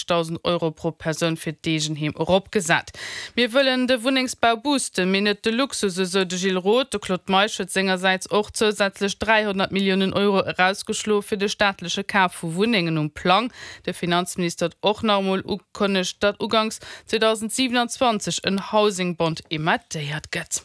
30.000 Euro pro Persoun fir d'Eegenheem eropgesat. Mir wëllen de Wunnengsbau boosten, mee net de Luxus, esou de Gilles Roth. De Claude Meisch huet sengersäits och zousätzlech 300 Milliounen Euro erausgeschloe fir de staatleche Kaf vu Wunnengen um Plang. De Finanzminister huet och nach emol ukënnegt, datt uganks 2027 en Housing Bond emettéiert gëtt.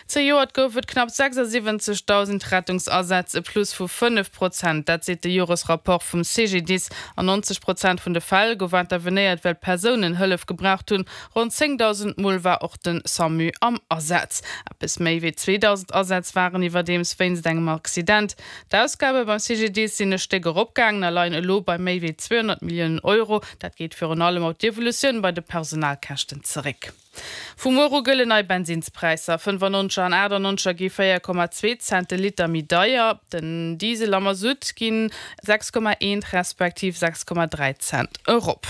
Zejoert gouf et knapp 76.000 Rettungsasätz, e Plus vu 5 Prozent. Dat seet de Joresrapport vum CGDIS. An 90 Prozent vun de Fäll gouf intervenéiert, well Persounen Hëllef gebraucht hunn. Ronn 10.000 Mol war och de Samu am Asaz. Eppes méi wéi 2.000 Asätz waren iwwerdeems wéinst engem Accident. D'Ausgabe beim CGDIS sinn e Stéck eropgaangen a leien elo bei méi wéi 200 Milliounen Euro. Dat geet virun allem op d'Evolutioun bei de Personalkäschten zeréck. Vu muer u gëllen nei Bensinnspräisser, 95 an 98 gi 4,2 Cent de Liter méi deier. Den Diesel a Masutt ginn 6,1 respektiv 6,3 Cent erop.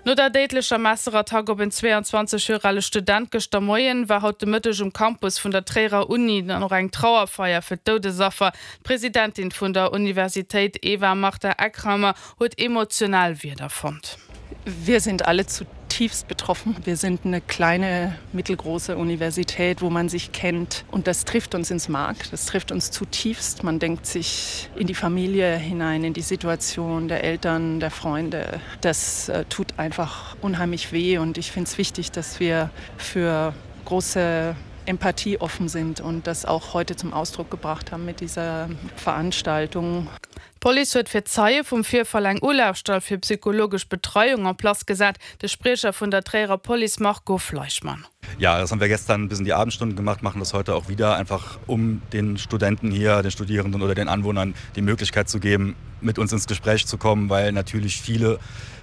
No der déidlecher Messerattack op en 22 Joer ale Student gëschter Moien, war haut de Mëtteg um Campus vun der Tréierer Uni dann och eng Trauerfeier fir d'Doudesaffer. D'Presidentin vun der Universitéit Eva Martha Eckrammer huet emotional Wierder fonnt. Wir sind alle zutiefst betroffen. Wir sind eine kleine, mittelgroße Universität, wo man sich kennt und das trifft uns ins Mark, das trifft uns zutiefst. Man denkt sich in die Familie hinein, in die Situation der Eltern, der Freunde. Das äh, tut einfach unheimlich weh und ich finde es wichtig, dass wir für große Empathie offen sind und das auch heute zum Ausdruck gebracht haben mit dieser Veranstaltung. D'Police huet fir d'Zeie vum Virfall eng Ulafstall fir psychologesch Betreiung en place gesat. De Spriecher vun der Tréierer Police Marco Fleischmann. Ja, das haben wir gestern bis in die Abendstunden gemacht, machen das heute auch wieder, einfach um den Studenten hier, den Studierenden oder den Anwohnern die Möglichkeit zu geben, mit uns ins Gespräch zu kommen, weil natürlich viele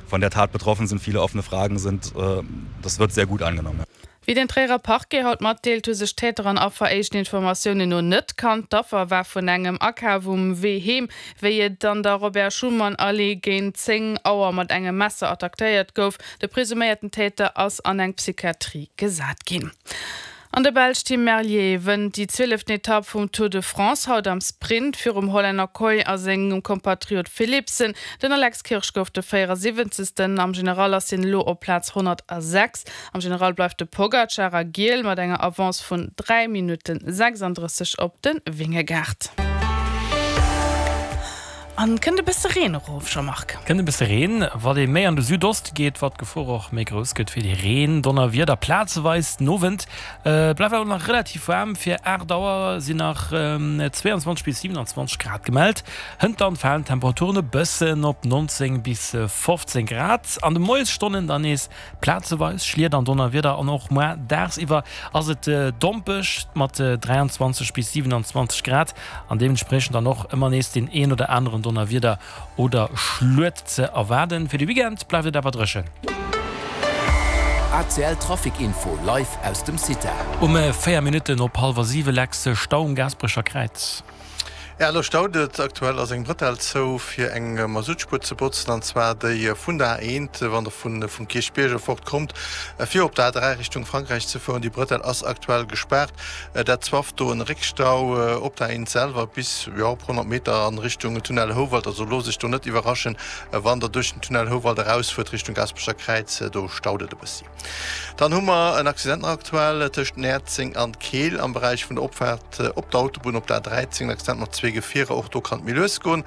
von der Tat betroffen sind, viele offene Fragen sind. Äh, das wird sehr gut angenommen. Wéi den Tréierer Parquet haut matdeelt, hu sech Täter an Affer éischten Informatiounen no net kannt. D'Affer war vun engem Akaf um Wee heem, wéi et an der Robert-Schuman-Allee géint 10 Auer mat engem Messer attackéiert gouf. De presuméierten Täter ass an eng Psychiatrie gesat ginn. An de Belsch Tim Merlier wënnt déi zwieleften Etapp vum Tour de France haut am Sprint virum Hollänner Kooij a sengem Kompatriot Philipsen. Den Alex Kirsch gouf de 74. Am General ass hien elo op Plaz 106. Am General bleift de Pogacar a Giel mat enger Avance vun 3 Minutten 36 op de Vingegaard. An kënnt e bësse Reen erof, Jean-Marc? Kënnt e bësse Reen. Wat ee méi an de Südoste geet, wat d'Gefor och méi grouss gëtt fir déi Reen-Donnerwieder plazeweis. Den Owend bleift awer nach relativ waarm, fir 8 Auer sinn nach 22 bis 27 Grad gemellt. Hënt dann falen d'Temperaturen e bëssen op 19 bis 15 Grad. An de Moiesstonnen dann nees Plazeweis Schliet an Donnerwieder an och muar daagsiwwer ass et dompeg mat 23 bis 27 Grad an deementspriechend dann och ëmmer nees deen een oder aneren Donnerwieder oder Schluet ze erwaarden. Fir de Weekend bleift et awer dréchen. ACL Trafic Info live aus dem CITA. Um 4 Minutten op hallwer 7 Lex, Stau um Gaasperecher Kräiz. Jo, elo staut et. Aktuell ass eng Brëtell zou fir eng Masuttspuer ze botzen, an zwar déi vun der A1, wann der vun vum Kierchbierg erfort kommt, fir op der A3 Richtung Frankräich ze fueren. Déi Brëtell ass aktuell gespaart. Dat zwafft do en Réckstau op der A1 selwer bis, jo, op 100 Meter an Richtung Tunnel Houwald. Also loosst iech do net iwwerraschen, wann der duerch den Tunnel Houwald erausfuert Richtung Gaasperecher Kräiz, do staut et e bëssi. Dann hu mer en Accident nach aktuell tëscht Näerzeng an Keel am Beräich vun der Opfaart op der Autobunn op der A13. En Accident mat zwee Gefierer, och do kann et méi lues goen.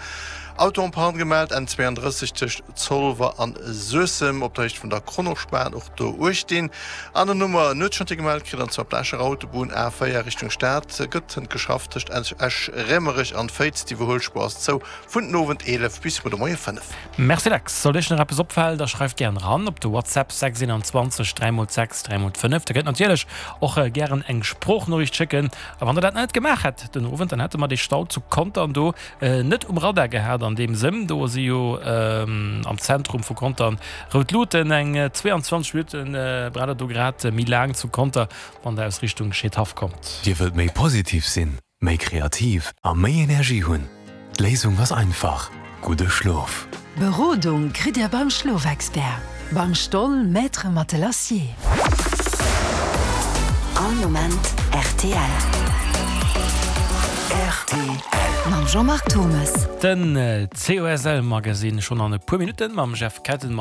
Auto en panne gemellt, N32 tëscht Zolwer an Suessem op der Héicht vun der Kronospan, och do uecht dinn. An dann hu mer en Nuetschantier gemellt kritt, an zwar op der Escher Autobunn A4 Richtung Stad gëtt hënt geschafft tëscht Esch-Raemerech an Féiz. D'Iwwerhuelspuer ass zou vun den Owend 11 bis muer de Moie 5. Merci Lex. Sollt iech nach eppes opfalen, da schreift gären eran op de WhatsApp 6 21 3 x 6 3 x 5. Der kënnt natierlech och gären eng Sproochnoriicht schécken. A wann der dat net gemaach hätt den Owend, dann hätte mer dee Stau zu Contern do net um Radar gehat an deem Sënn. Do si jo am Zentrum vu Contern rout Luuten. Eng 22 Minutten braucht der do grad méi laang zu Conter, wann der aus Richtung Scheedhaff kommt. Dir wëllt méi positiv sinn? Méi kreativ a méi Energie hunn? D'Léisung ass einfach, gudde Schlof! Berodung kritt Dir beim Schlofexpert, beim Stoll Maître Matelassier. All Moment rtl. Rtl. Mam Jean-Marc Thommes. Den COSL Magazine schonn an e puer Minutten mam Jeff Kettenmeyer.